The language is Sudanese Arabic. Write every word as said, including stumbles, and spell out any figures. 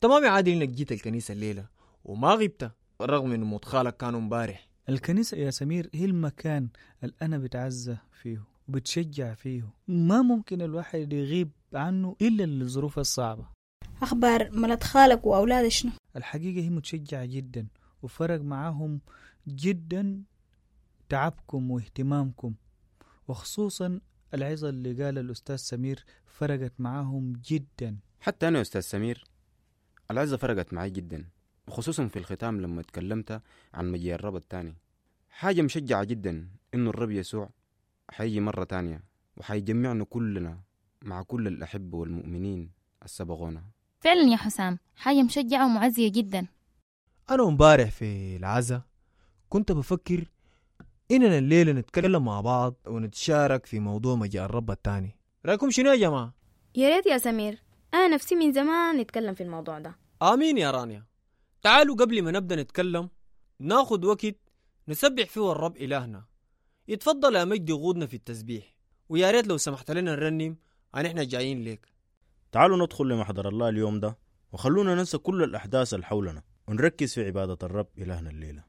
تمام يا عادل انك جيت الكنيسة الليلة وما غبت، رغم انه موت خالك كان امبارح. الكنيسة يا سمير هي المكان اللي أنا بتعزى فيه وبتشجع فيه، ما ممكن الواحد يغيب عنه إلا للظروف الصعبة. أخبار مرت خالك وأولادها شنو؟ الحقيقة هي متشجعة جدا، وفرق معاهم جدا تعبكم واهتمامكم، وخصوصا العظة اللي قال الأستاذ سمير فرقت معاهم جدا. حتى أنا يا أستاذ سمير العظة فرقت معي جدا، وخصوصا في الختام لما تكلمت عن مجيء الرب الثاني. حاجة مشجعة جدا إنه الرب يسوع حيجي مرة تانية وحيجمعنا كلنا مع كل الأحبة والمؤمنين السبقونا. فعلا يا حسام، حاجة مشجعة ومعزية جدا. أنا امبارح في العزاء كنت بفكر إننا الليلة نتكلم مع بعض ونتشارك في موضوع مجيء الرب الثاني. رأيكم شنو يا جماعة؟ يا ريت يا سمير، أنا نفسي من زمان نتكلم في الموضوع ده. آمين يا رانيا. تعالوا قبل ما نبدأ نتكلم ناخد وقت نسبح فيه الرب إلهنا. يتفضل يا مجدي غودنا في التسبيح، ويا ريت لو سمحت لنا نرنم عن إحنا جايين لك. تعالوا ندخل لمحضر الله اليوم ده، وخلونا ننسى كل الأحداث اللي حولنا ونركز في عبادة الرب إلهنا الليلة.